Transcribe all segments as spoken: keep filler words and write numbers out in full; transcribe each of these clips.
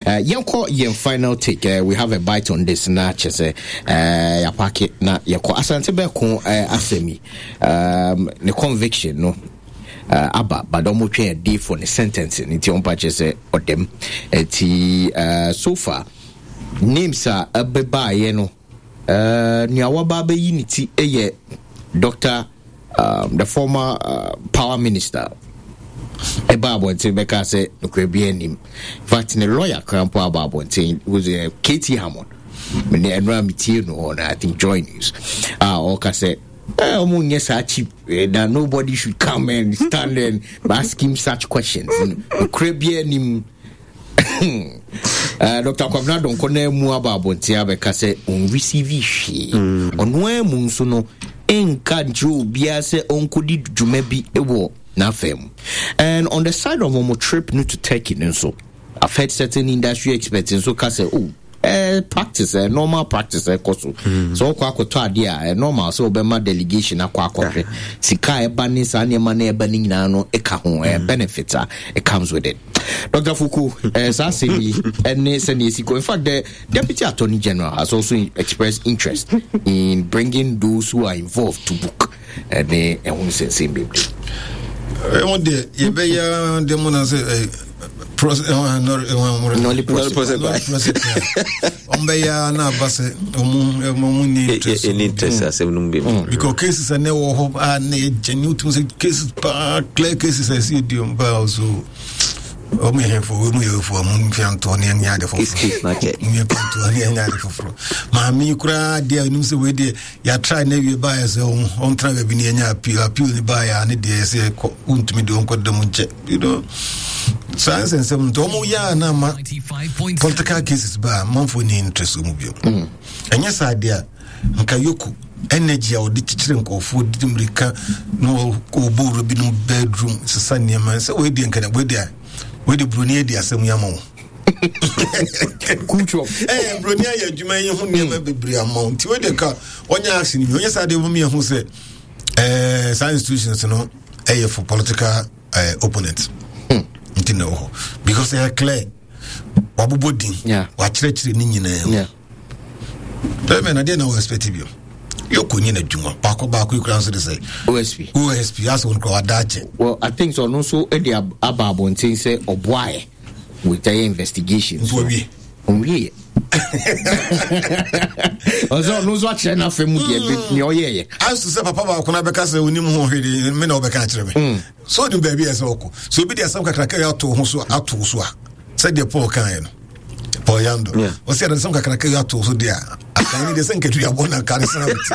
Uh, yɛnkɔ yɛn final take. Uh, we have a bite on this na kyɛ sɛ uh, yɛapake na yɛkɔ Asante Bɛko uh, asɛm yi, um, ne conviction no uh, aba, but ɔmo twɛn a day for ne sentencing, nti ɔmpa kyerɛ sɛ ɔdɛm. Nti uh, so far names a ɛbɛbaayɛ no, uh, nea waba abɛyi ne ti yɛ Doctor um, the former uh, power minister, ɛba abɔnten bɛka sɛ nokorɛ bi anim. In fact, ne lawyer kora mpo aba abɔnten, was uh, K T Hammond. Mene ɛno a metie no hɔ no, I think Joy News a ɔka sɛ eh, ɔmo nyɛ saa cheap eh, that nobody should come and stand and ask him such questions. Nokorɛ bi anim. uh, Doctor Kwabena Donkor na mu aba abɔnten abɛka sɛ ɔnreceive hwee. Ɔno ara mu nso no nka nkyerɛ obiara sɛ ɔnkɔdi dwuma bi wɔ n'afɛ mu. And on the side of ɔmo trip no to Turkey no nso, I've heard certain industry experts nso ka sɛ, oh, eh, practice, eh, normal practice ɛkɔ so sɛ ɔkɔ akɔtɔ adeɛ a, eh, normal sɛ ɔbɛma delegation akɔ akɔhwɛ sika a ɛba ne saa nneɛma no ɛba no nyinaa no ɛka ho, eh, benefits a it comes with it. Doctor Fuku, eh, saa asɛm yi ɛne sɛnea ɛsi kɔ. In fact, the deputy attorney general has also expressed interest in bringing those who are involved to book, ɛne ɛho nsɛnsɛm bebree. Ɛho deɛ yɛbɛyɛ deɛ mu na sɛ nolle prosequi. Ɔmbɛyɛ na aba sɛ ɔmo ɔmo ni interest. Ɛni interest asɛm no mu bi mu because cases a na ɛwɔ hɔ a na yɛ gyɛne wotum sɛ cases paa, clear cases a ɛsɛ yɛdi ɔmo paa so ɔmo yɛ hɛfo, ɔmo yɛ hɛfo, ɔmo mfia ntoɔ ne ɛnyɛ ade foforɔ, ɔmo yɛ pantoɔ ne ɛnyɛ ade foforɔ. Maame yi koraa deɛ, ɛnum sɛ wei deɛ yɛatra na awie baayɛ sɛ ɔntena baabi ne yɛnya appeal appeal ne baayɛ a ne deɛ sɛ kɔ wontumi deɛ ɔnkɔ da mu nkyɛ you know saa nsɛnsɛm nti ɔmo yɛ a na ama political cases ba a manfoɔ ni interest mu bio. Ɛnyɛ saa deɛ a nka EOCO energy a ɔde kyekyere nkɔɔfoɔ de mmirika na ɔbɔ wura binom bedroom sesa nneɛma sɛ wei deɛ nka wei deɛ wei deɛ buroni adi asɛm yi ama wo. Culture. Ɛɛ buroni ayɛ adwuma yi ho nneɛma bebree ama wo, nti wei deɛ ka ɔnyɛ action bi. Ɔnyɛ saa deɛ wɔn yɛ ho sɛ ɛɛ saa institutions no ɛyɛ for political ɛɛ opponent nti na ɛwɔ hɔ, because ɛyɛ clear wabobɔ din, wakyerɛkyerɛ ne nyinaa mu bɛrɛ na deɛ na wɔ expect bi EOCO nye n'adwuma baako baako yi kura nso de sɛ O S P. O S P asɛ wɔn kura wada akyɛ. Well, I think so ɔno nso de aba abɔnten sɛ ɔboaeɛ with ɛyɛ investigation. Nso wawie. Ɔnwieɛ, ɔsɛ ɔno nso akyerɛ n'afɛ mu deɛ nea ɔyɛɛyɛ. Aso sɛ papa baako na bɛka sɛ onim ho hwee de me na ɔbɛka akyerɛ me so onim baabi a ɛsɛ ɔkɔ so obi de asɛm kakraka yi ato ho so ato so a, sɛdeɛ Paul kaeɛ no, Paul Yando ɔsɛ yɛde asɛm kakraka yi ato so deɛ a akan ne deɛ sɛ nkadua na nka ne sena bɛti.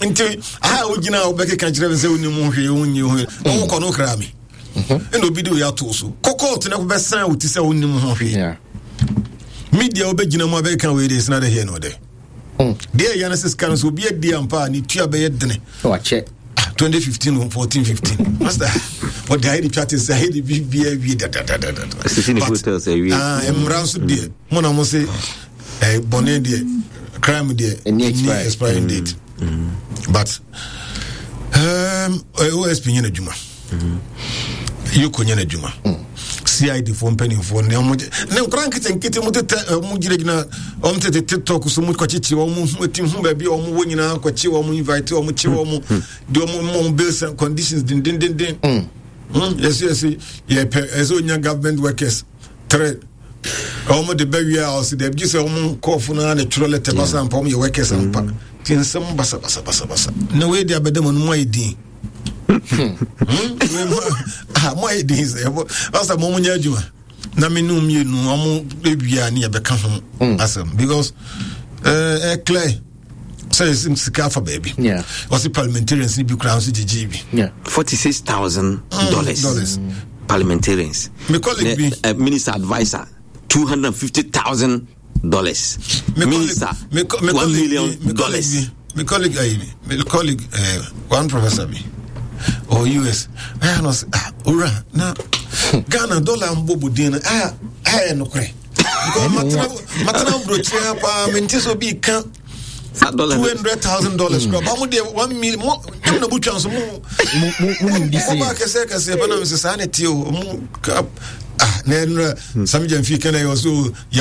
Nti aha a wogyina a wobɛkeka kyerɛ me sɛ wonim ho hwee, wonyi ho hwee na wokɔ no wokra me ɛna obi de oyi ato so kɔkɔɔto na bɛsan wo ti sɛ wonim ho hwee. Media wobɛgyina mu abɛka wei de sena de hɛ no dɛ deɛ ɛyɛ no sɛ sika no sɛ obi adi ampa a ne tua bɛyɛ dene. Wakyɛ. twenty fifteen fourteen fifteen, master, ɔde ayɛ de twa te sɛ ayɛ de bibia wie dadadadada. Mmara nso deɛ mo na mo se bɔne deɛ, crime deɛ ɛni expiring date, but um, O S P nyɛ n'adwuma, EOCO nyɛ n'adwuma, C I D foɔ mpanimfoɔ ne ɔmo ne nkora nketenkete mo tetɛ ɔmo gyinagyina ɔmo tete TikTok so mo kɔkyekye ɔmo ho ti ho baabi a ɔmo wɔ nyinaa kɔkye ɔmo, invite ɔmo, kye ɔmo de ɔmo mo ɔmo bills and conditions dendendenden. Yɛsi yɛsi yɛpɛ ɛsɛ onya government workers three, ɔmo de bɛ wie a ɔsi dɛbi gye sɛ ɔmo nkɔɔfo no ara na twerɛ letter basa mpa ɔmo yɛ workers ampa. Ti nsɛm basa basa basa basa na wei de abɛdɛm ɔno mo ayɛ din mo ayɛ din sɛ ɔsɛ mo mo nyɛ adwuma na me ne mmienu ɔmo ewia ne yɛbɛka ho asɛm because ɛɛ ɛ clear sɛ sika afa baabi. Ɔsi parliamentarians ni bi kura nso gyegye bi. Forty six thousand dollars. Dollars. Parliamentarians. Me colleague bi. Uh, minister adviser, two hundred and fifty thousand dollars. Minister, me, co- me one colleague million bi- me colleague dollars. bi, me colleague ayi me colleague uh, one professor bi or U S ɛyà na ɔsɛ, "Ah, owura, na Ghana dollar mbɔ budin no ɛyà ɛyɛ nokorɛ?" Because matena matena aburokyire ha paa, mente sɛ obi ka Saa dollar two hundred thousand dollars kura ba mo deɛ one million mo ɛmu na butwa nso mo. Mo nim di se. Mo ba kɛseɛ kɛseɛ pɛ na mi sɛ saa na tie o mo ka ah na ɛnura Sammy Gyamfi kan na yɛ ɔso.